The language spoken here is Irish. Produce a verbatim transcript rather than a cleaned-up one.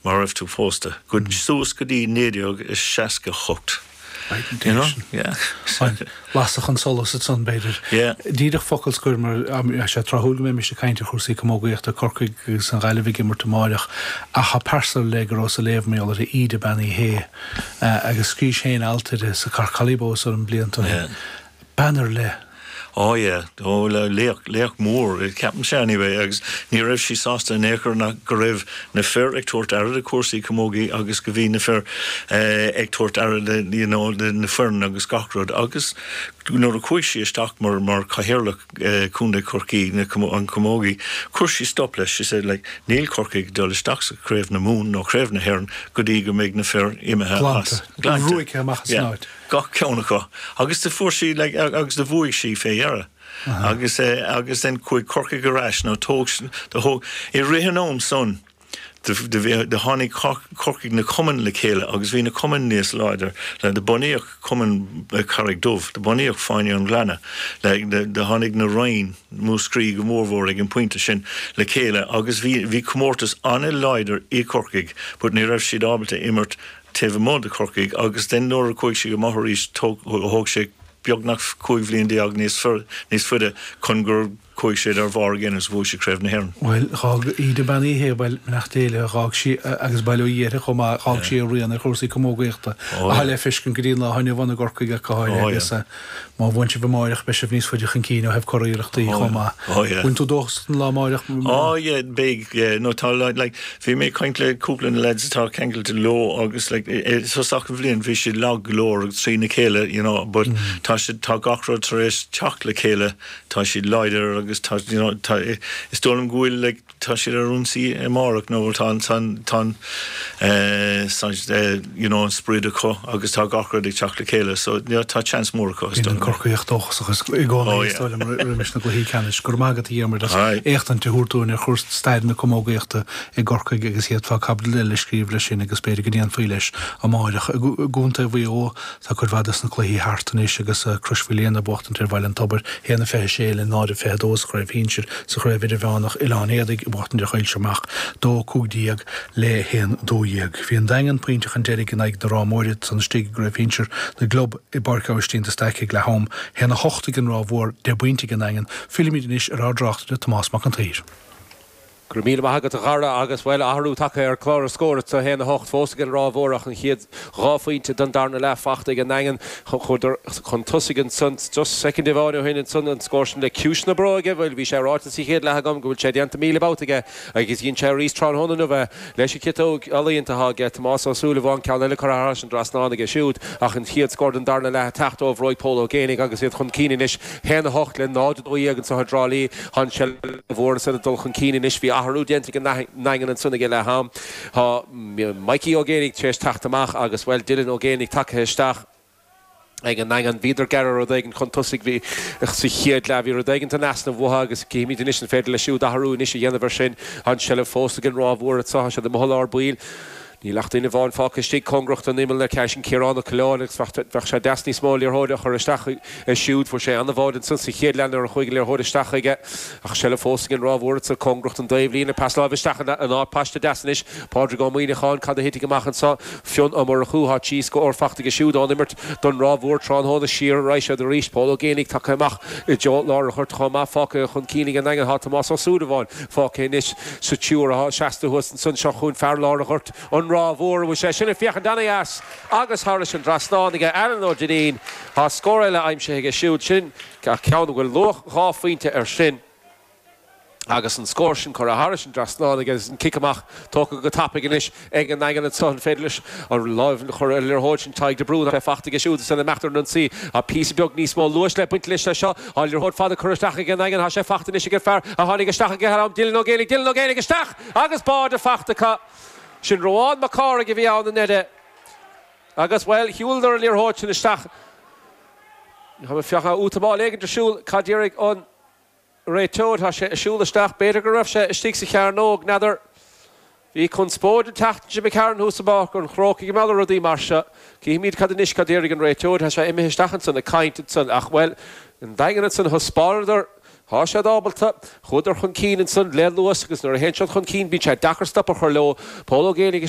Mar raibh tú pósta. Go suas go dtí naoi déag is seasca hocht. You know? Yeah. Lasadh an solas ansan b'fhéidir. Yeah. Díreach focal scoir mar sé tráthúil go mbeimis ag caint ar chúrsaí camógaíochta Corcaigh agus an Ghaillimh ag imirt amárach ach tá pearsa le go raibh sa léamh mar gheall ar Íde Bean Uí Shé agus scríobhais féin alt uirthi sa Cork Hollybow an blianta. Yeah. Bean ar leith. Oh yeah, oh le laoch laoch mór ceapaim sé anyway agus ní raibh sí sásta in aon chor ná go raibh na fir ag tabhairt aire do cúrsaí camógaí agus go bhí na fir eh, ag tabhairt aire le you know, le na foireann agus gach rud agus nuair a chuaigh sí isteach mar mar cathaoirleach eh, Chontae Chorcaí na an camógaí, chuir sí stop leis she said like níl Corcaigh dul isteach sa Craobh na Mumhan nó Craobh na hÉireann go dtí go mbeidh na fir imithe as. Ruaigthe amach as yeah. Gach ceann acu agus do fuair sí like, agus do bhuaigh sí fé dheireadh. Agus eh, agus then chuaigh Corcaigh ar ais nó tóg do thóg i rith an am san do tháinig Corcaigh na cumainn le chéile agus bhí na cumainn níos láidir le do bunaíodh cumann Carraig Dubh, do bunaíodh Fáinne an Ghleanna, le do tháinig na Rinn Múscraí go mórmhór ag an pointe sin le chéile agus bhí bhí comórtas an-láidir i Corcaigh, but ní raibh siad ábalta imirt taobh amuigh de Corcaigh agus den nuair a chuaigh sí go maith arís thóg sé beagnach cúig bhliain déag níos níos faide chun gur chuaigh siad ar bharr again agus bhuaigh siad Craobh na hÉireann. Well d'fhág Íde Bean Uí Shé well nach déile d'fhág sí agus bail ó Dhia uirthi chomh maith d'fhág sí a rian ar chúrsaí camógaíochta a le feiscint go dtí lá inniu i gCorcaigh ach go háirithe agus má bhuann sibh amárach beidh sibh níos faide chun cinn ó thaobh curiarrachtaí chomh maith. Bhfuil tú dóchasach don lá amárach? Oh yeah, big yeah no tá like bhí mé ag caint le cúpla na lads atá ceangailte leo agus like thosach an bhliain bhí siad lag go leor agus trí na chéile you know but tá siad tá gach rud tar éis teacht le chéile tá siad láidir agus tá you know tá is dóigh liom go bhfuil like tá siad ar ionsaí amárach nó tá an tá eh, you know an sprid acu agus tá gach rud ag teacht le chéile so you know, tá chance mór acu an Corcaíoch dóchasach i gcónaí is dóigh liom roimis na gcluichí ceannais gur magat dhéarmar éachtant a thabhairt dúinn ar chúrsaí stair na camógaíochta i gCorcaigh agus iad fá caibidil le scríobh leis sin agus b'fhéidir go ndéanfaí leis amárach i gContae Mhaigh Eo tá cuid mhaith de na cluichí thart anois agus Crois Mhaoilíona ag buachtaint ar Bhaile an Tobair haon a fiche sé le náid a fiche dó sa chraobh shinsir sa chraobh idirmheánach Oileán Éadaigh ag buachtaint ar Choill Seo dó cúig déag le haon dó dhéag. Bhí an Daingean pointe chun deiridh in aghaidh na Ráth Móire san istigh i gcraobh shinsir na gclub i bPáirc Aibhistín de Staic ag leath am haon a hocht ag an Ráth Mhór deich bpointe ag an Daingean fillimid anois ar ár dtráchtaire Tomás Mac an tSaoir. Gur míle maith agat a Dhara agus bhfuil athrú tagtha ar chlár na scór sa haon a hocht fós ag an Ráth Mhór ach an chéad dhá phointe den darna leath faighte ag an nDaingean chun tosaigh ansan just soicind amháin ó shin ansan an scór sin le ciumhais na bróige bhfuil bhí sé ráite sa chéad leath agam go bhfuil sé déanta míle babhta aige agus dhein sé arís tráthnóna inniu leis an chiotóg ealaíonta aige Tomás Ó Súilleabháin ceann eile curtha thar an trasnán aige siúd ach an chéad scór den darna leath teacht ó bhróig Pól Ó Géibheannaigh agus iad chun cinn anois haon a hocht le náid dó dhéag anseo i dTrá Lí an mhór san dul chun cinn anois bhí athrú déanta ag an nDaingean ansan ag leath am Tá Mikey Ó Géibheannaigh tar éis teacht amach agus well Dylan Ó Géibheannaigh tagtha isteach ag an nDaingean bhíodar gearr rud éigin chun tosaigh bhí sa chéad leath bhí rud éigin in easnamh uathu agus címid anois an féidir le siúd athrú anois a dhéanamh ar sin an seilbh fós ag an Ráth Mhór sa siad i lár baill. Níl ach duine amháin fágtha istigh cóngarach don imeall le ceis an Ciarán Ó Coileáin agus bheadh sé deas níos mó liathróid a chur isteach siúd fuair sé an-bhád ansan sa chéad leath nuair a chuaigh liathróid isteach aige ach seilbh fós ag an Ráth Mhór sa cóngarach don taobhlíne pas láimhe isteach an áit paiste deas anois Pádraig Ó Muíneacháin cad a thitfidh amach anseo Fionn Ó Murchú tá trí scór faighte aige siúd ón imirt don Ráth Mhór tráthnóna siar arís siad arís Pól Ó Géibheannaigh tagtha amach i dtreo lár an ghoirt chomh maith fágtha chun cinn ag an nDaingean tá Tomás Ó Súilleabháin fágtha anois sa triúr atá seasta thuas ansan seo chugainn fear lár an ghoirt an Ráth Mhór bhfuil sé sin ag féachaint an-dheas agus thar an trasnán aige Alan Ó Duinnín Tá scór eile aimsithe aige siúd sin ceann bhfuil luach dhá phointe ar sin. agus an scór sin curtha thar an trasnán agus an cic amach tógtha go tapaidh anois ag an nDaingean an féidir leis an lámh chur ar liathróid sin Tadhg de Brún faighte aige siúd san imeacht ar an ionsaí a píosa beag níos mó luais le baint leis seo á liathróid fada curtha isteach ag an nDaingean tá sé faighte anois ag fear a tháinig isteach ag am Dylan Ó Géibheannaigh Dylan Ó Géibheannaigh isteach agus báide faighte acu sin Roán Mac Cárthaigh a bhí ann an eide agus well shiúladar an liathróid sin isteach Tá fecha útamá éigen siúl cad an réiteoir tá sé siúl isteach b'fhéidir go raibh sé istigh sa chearnóg n'fheadar Bhí conspóid an tseachtain seo cean húsá an chróca go meall rudaí mar seo Címid cad anois cad déarfaidh an réiteoir tá sé imithe isteach ansan ag caint ansan ach well an Daingean ansan thaispeánadar Tá siad ábalta chuadar chun cinn ansan le luas agus nuair a théann siad chun cinn bíonn sé deacair stop a chur leo Pól Ó Géibheannaigh